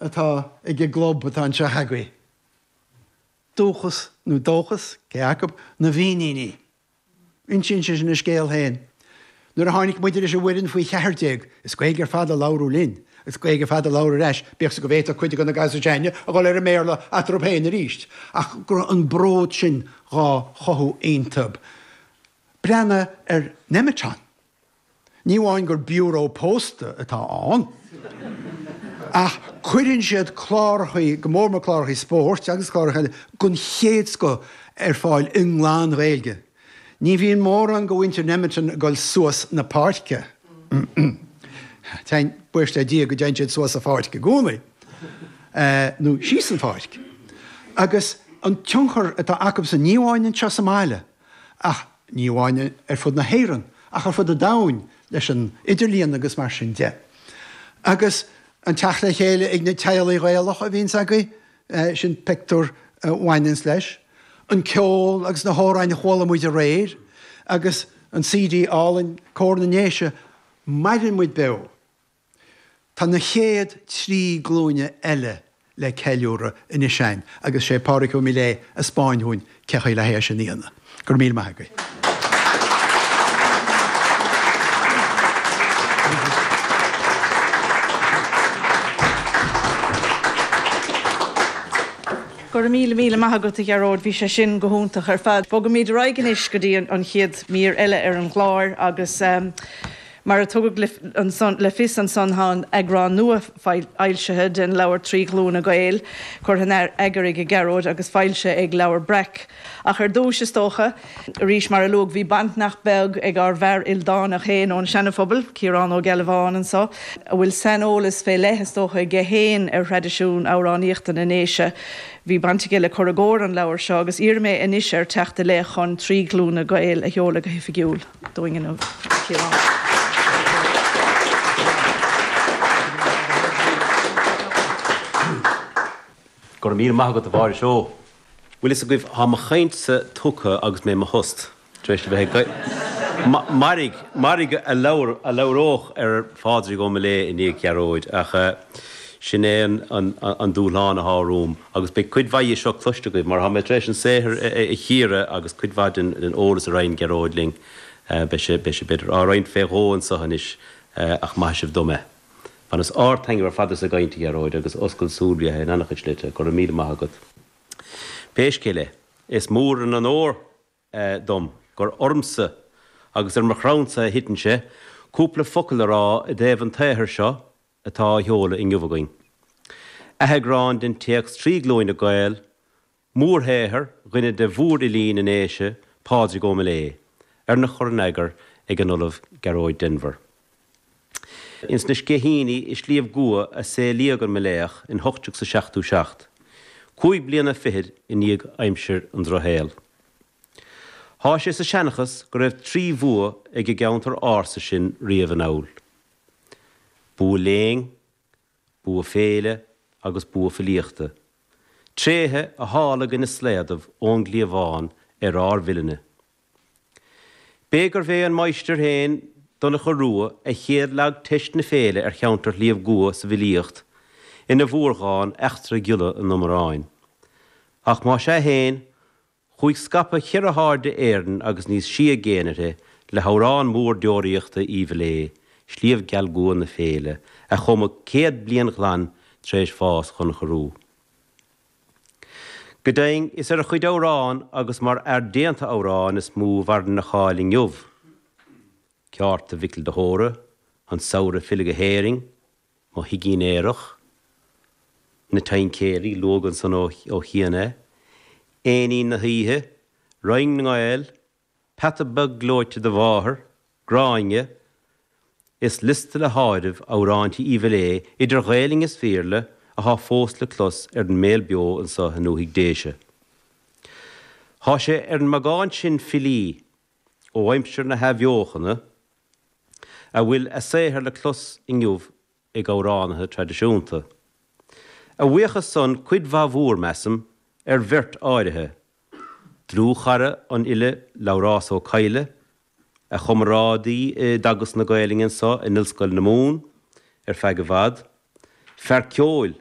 atá ag an gclub atá anseo agaibh. Dúchas nó dóchas, cé acu, na bhFíníní. Insíonn sé sin a scéal féin. Nuair a tháinig muide leis an bhfoireann faoi 14, is Gaeilge ar fad a labhradh linn, agus Gaeilge ar fad a labhradh ar ais, bíodh 's go bhféadfadh cuid de na gasúir s'againne a dhul ar an mBéarla eatarthu féin arís, ach go raibh an bród sin dhá chothú iontub. Breathnaigh ar Nemeton. Ní amháin gur biúró pósta atá ann, ach cuireann siad clárachaí, go mór mór clárachaí spóirt agus cláracha eile, den chéad scoth ar fáil i nglan-Ghaeilge. Ní bhíonn mórán de mhuintir Nemeton ag dul suas na páirce. Téann, buíochas le Dia go dtéann siad suas an pháirc i gcónaí, nó síos an pháirc. Agus an tionchar atá acusan, ní amháin anseo sa mbaile, Ach ní amháin ar fud na hÉireann, ach ar fud an domhain leis an idirlíon agus mar sin de. Agus an teacht le chéile ag na teaghlaigh Ghaelacha a bhíonns agaibh, sin pictiúr a bhaineanns leis. An ceol agus na hamhráin a chuala muid aréir, agus an CD álainn Cór na nDéise, maireann muid beo. Tá na chéad trí glúine eile le ceiliúradh anois a'inn agus sé Pádraig Ó Miléadha a 'spáin dhúinn cé chaoi le hé sin a dhéanamh. Go raibh míle maith agaibh. Go raibh míle míle maith agat a Ghearóid, bhí sé sin go hiontach ar fad. Bogaimid ar aghaidh anois go dtí an chéad mír eile ar an gclár agus. Mar a tugadh le fios ansan tá eagrán nua foilsithe den leabhar 'Trí Ghlúine Gael', curtha in eagar ag Gearóid agus foilsithe ag Leabhar Breac. Ach ar dtúis, is dócha, arís mar a luadh, bhí baint nach beag ag ár bhfear ildánach féin ón Seana-Phobal, Ciarán Ó Gealbháin anso, a bhfuil saineolas fé leith, is dócha, aige féin ar thraidisiún amhránaíochta na nDéise. Bhí baint aige le cur i gcóir an leabhair seo agus iarrfaidh mé anois air teacht i leith chun Trí Ghlúine Gael a sheoladh go hoifigiúil. dúinn inniu, a Chiaráin. Go raibh míle maith agat a Mháire Seó. Bhfuil fhios agaibh, thá mo chaint-sa tugtha agus mé i mo thost, tar éis a bheith ag Mairg, mairg a labhródh ar Phádraig Ó Miléadha i ndiaidh Ghearóid, ach sin é an dúshlán athá romham. Agus beidh cuid mhaith dhe seo cloiste agaibh, mar thá mé tar éis an saothar a chíoradh agus cuid mhaith den eolas a roinn Gearóid linn, beidh sé, beidh sé, b'fhéidir, á roinnt fé dhó anso anois, ach maithfidh sibh dom é. Bhaineas ard-taitneamh ar fad as an gcaint, a Ghearóid, agus oscailt súl ba ea é in an-chuid slite. Go raibh míle maith agat. Pé scéal é, is mór an onóir dom gur ormsa agus ar mo chrannsa a thiteann sé cúpla focal a rá i dtaobh an tsaothair seo atá á sheoladh inniu againn. Atheagrán den téacs 'Trí Glúine Gael', mórshaothar dhuine de mhórfhilí na nDéise, Pádraig Ó Miléadha, arna chur in eagar ag an Ollamh Gearóid Denvir. Ins na Sceichíní i Sliabh gCua a saolaíodh an Miléadhach in 1877, cúig bliana fichead i ndiaidh aimsir an Drochshaoil. Thá sé sa seanchas go raibh trí bhua ag an gceantar ársa sin riamh anall. Bua léinn, bua féile agus bua filíochta, tréithe a tháinig ina slaodaibh ón gcliabhán ar ár bhfile-ne. B'é gurbh é an máistir féin, Donncha Rua, a chéad leag teist na féile ar cheantar Shliabh gCua sa bhfilíocht ina mhórdhán Eachtra Ghiolla an Iomaráin. Ach más ea féin, Chuaigh scaipeadh cheithre hairde Éireann agus níos sia i gcéin uirthi le hamhrán mór deoraíochta Uí Mhiléadha, Sliabh Geal Gcua na Féile, a cumadh 100 bliain ghlan tar éis bhás Dhonncha Rua. Go deimhin, is ar a chuid amhrán agus mar fhear déanta amhrán is mó a mhaireann a cháil inniu. Ceárta Mhicil de hÓra, An Samhradh Filleadh go hÉirinn, Mo Thigín Aerach, Na Taincéirí, luadh ansan ó chian é, Éinín na hOíche, Roinn na nGael, Peata Beag Gleoite do Mháthair, Gráinne, Is liosta le háireamh amhráintí Uí Mhiléadha, idir Ghaelainn is Bhéarla, athá fós le clos ar an mbéal beo anso i ndúthaigh Déise. Thá sé ar an mbeagán sin filí ó aimsir na hAthbheochana a bhfuil a saothar le clos inniu ag amhránaithe traidisiúnta. A bhuíochas san, cuid mhaith mhór, measaim, ar bheirt áirithe, dlúthchara an fhile Labhrás Ó Cadhla, a chomrádaí i dteagasc na Gaelainne anso in Ollscoil na Mumhan ar feadh i bhfad, fear ceoil.